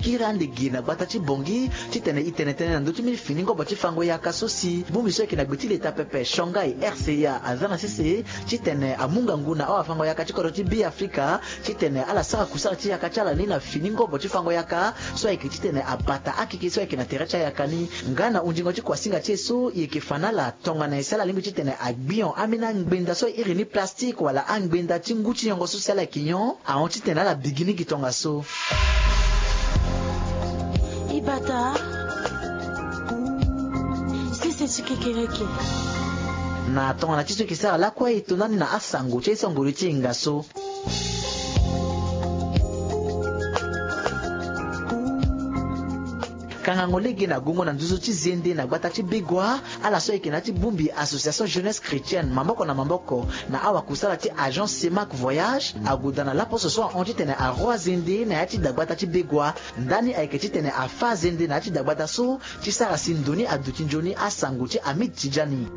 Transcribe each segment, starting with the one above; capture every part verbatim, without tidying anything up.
Iri ande gi na gbata ti Bangui titene e tene tënë na ndö ti mbeni fini ngobo ti fango yaka so si bongbi so ayeke na gbe ti leta pepe Shanghai R C A aza na sese titene amu ngangu na awafango yaka ti kodro ti Beafrika titene ala sara kusala ti yaka ti ala ni na fini ngobo ti fango yaka so ayeke titene abata akeke so ayeke na tere ti ayaka ni. Nga na hunzingo ti kuasinga ti e so e yeke fa na ala tongana nyen si ala lingbi titene agbion ambeni angbenda so e iri ni plastique wala angbenda ti ngu ti nyongo so si ala yeke nyon ahon titene ala bigi ni gi tongaso. Ibata sese ti kekereke. Na tongana ti so e yeke sara lakue e to ndani na asango ti aye so ngoli ti hinga so. Kangango lege na gongo na nduzu ti zende na gbata ti Begoua, ala so ayeke na ya ti bongbi Association Jeunesse Chrétienne maboko na maboko na awakusala ti Agence Semac Voyage agoda na laposo so ahon titene aro azende na ya ti dagbata ti Begoua. Ndani ayeke titene afa azende na ya ti dagbata so ti sara si ndo ni aduti nzoni asango ti Hamid Tidjani.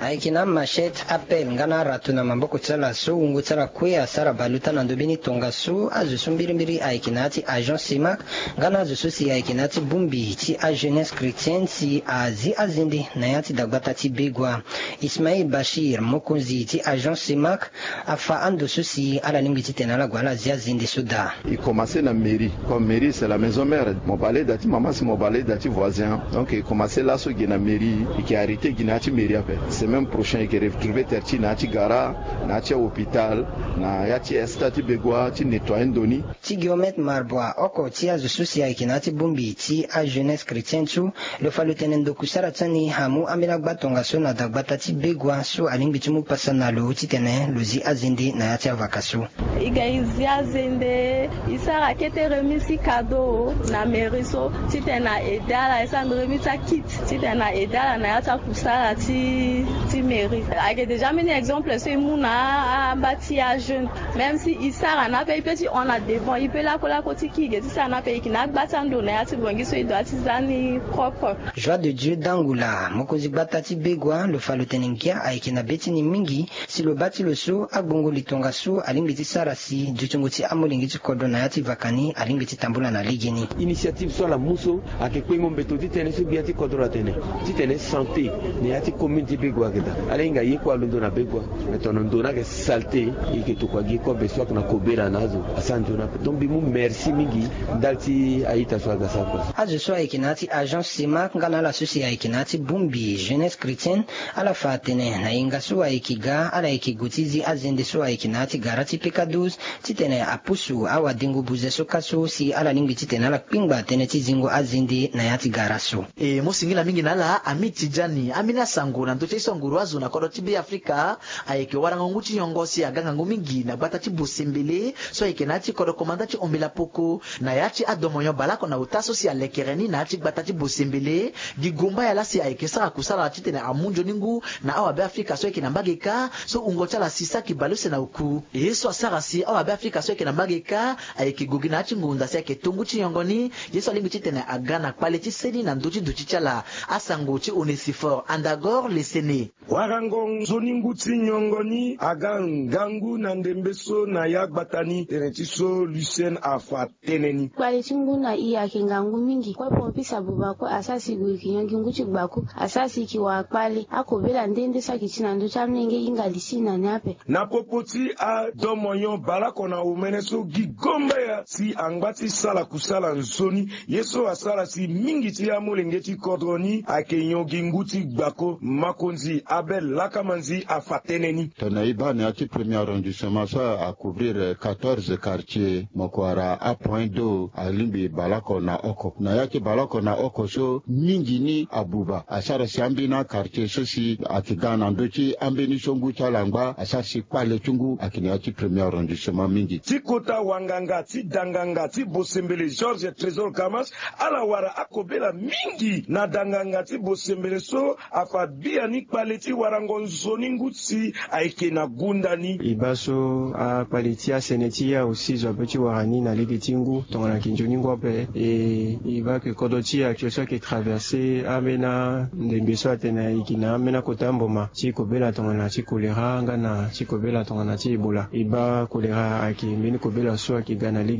Ayeke na amachette, apelle nga na arato na maboko ti ala so wungo ti ala kue asara baluta na ndö mbeni tongaso. Azo so mbirimbiri ayeke na ya ti Agence Semac nga na azo so si ayeke na ya ti bongbi ti ajeunesse chrétienne si azi azende na ya ti dagbata ti Begoua. Ismail Bachir, mokonzi ti Agence Semac, afa ando so si ala lingbi titene ala gue ala zi azende so daa. E commencé na mairie, comme mairie c'est la maison mère. Mo bale da ti mama si mo bale da ti voisin. Donc e commencé laso gi na mairie, e yeke arrêté gi na ya ti mairie ape. Semaine prochaine e yeke retrouver terre ti na ya ti gara, na ya ti hôpital, na ya ti esta ti Begoua ti nettoyer ndo ni. Ti Guillaume Marbois, oko ti azo so si ayeke na ya ti bongbi ti ajeunesse chrétienne so, lo fa lo tene ndo kusara ti ani amu ambeni agba tongaso na dagbata ti Begoua so alingbi ti mu pasa na lo titene lo zi azende na ya ti avaka so. E ga e zi azende, e sara kete remise ti cadeau na mairie so titene na aide ala, e sara remise ti akit titene na aide ala na ya ti akusala ti ti mairie. Ayeke déjà mbeni exemple so e mu na amba ti ajeune. Même si e sara na ape, e peut ti hon na devant, e peut lakolako ti kige ti sara na ape, e yeke na agba ti ando na ya ti Bangui so e doit ti za ni propre. Joie de Dieu Dangula, mokonzi gbata ti Begoua, lo fa lo tene ngia ayeke na be ti ni mingi si lo baa ti lo so agbongo li tongaso alingbi ti sara si dutingo ti amolenge ti kodro na ya ti vaka ni alingbi ti tambula na legeni. Initiative so ala mu so ayeke kpengo mbeto ti tënë so gbia ti kodro atene titene santé na ya ti commune ti Begoua ayeke daa. Ala hinga ye kue alondo na Begoua, me tongana ndo ni ayeke saleté, e yeke tokua gi kobe so ayeke na kobela na azo asara nzoni ape. Donc mbi mu merci mingi ndali ti a-ita so aga sara kue. Azo so ayeke na ya ti Agence Semac nga na ala so si ayeke na ya ti bongbi Jeunesse Chrétienne, ala fa atene na hinga so ayeke ga, ala yeke gue ti zi azende so ayeke na ya ti gara ti P K douze titene apusu awadengo buze so ka so si ala lingbi titene ala kpingba tënë ti zingo azende na ya ti gara so. E mo singila mingi na ala Hamid Tidjani. Ambeni asango na ndö ti aye so anguru azo na kodro ti Beafrika ayeke warango ngu ti nyongo si aga ngangu mingi na gbata ti Bosembele so ayeke na ya ti kodro komanda ti Ombela Poko, na ya ti adomonyon baleoko na ota so si alekere ni na ya ti gbata ti Bosembele. Gi gumbaya laa si ayeke sara kusala titene amu nzoni ngu na awabeafrika so ayeke na mbage kâ so wungo ti ala si saki baleuse na oku. Ye so asara si awabeafrika so ayeke na mbage kâ ayeke gue gi na ya ti ngonda si ayeke to ngu ti nyongo ni, ye so alingbi titene aga na kpale ti seni na ndö ti duti ti ala. Asango ti Onesifore Andagor Lesene. Warango nzoni ngu ti nyongo ni aga ngangu na ndembe so na ya gbata ni, tënë ti so Lucien afa tënë ni. Kpale ti ngu na e ayeke ngangu mingi. Kue pompiste abuba kue asara si gue e yeke nyon gi ngu ti gbaku, asara si e yeke wara kpale. Akobela nde nde so ayeke ti na ndö ti amolenge e hinga li ti e na ni ape. Na popo ti adomonyon baleoko na omene so, gi gombaya si angba ti sala kusala nzoni, ye so asara si mingi ti amolenge ti kodro ni ayeke nyon gi ngu ti gbako. Makonzi Abel Lakamanzi afa tënë ni. Tongana e baa na ya ti premier arrondissement so a couvrir quatorze quartiers, mo ko wara apoint d'eau alingbi baleoko na oko. Na ya ti baleoko na oko so mingi ni abuba, asara si ambeni quartier so si ayeke ga na ndö ti ambeni so ngu ti ala angba, asara si kpale ti ngu ayeke na ya ti premier arrondissement mingi. Ti kota wanganga ti danganga ti Bosembele Georges Trésor Kamas, ala wara akobela mingi na danganga ti Bosembele so afa biani kpale ti warango nzoni ngu si ayeke na gunda ni. E baa so akpale ti asene ti e aussi zo ape ti wara ni na lege ti ngu tongana ayeke nzoni ngu ape. E, e baa ke kodro ti e actuel so ayeke traverser ambeni andembe so atene e yeke na ambeni akota mboma ti kobela tongana ti choléra nga na ti kobela tongana ti Ebola. E baa choléra ayeke mbeni kobela so ayeke ga na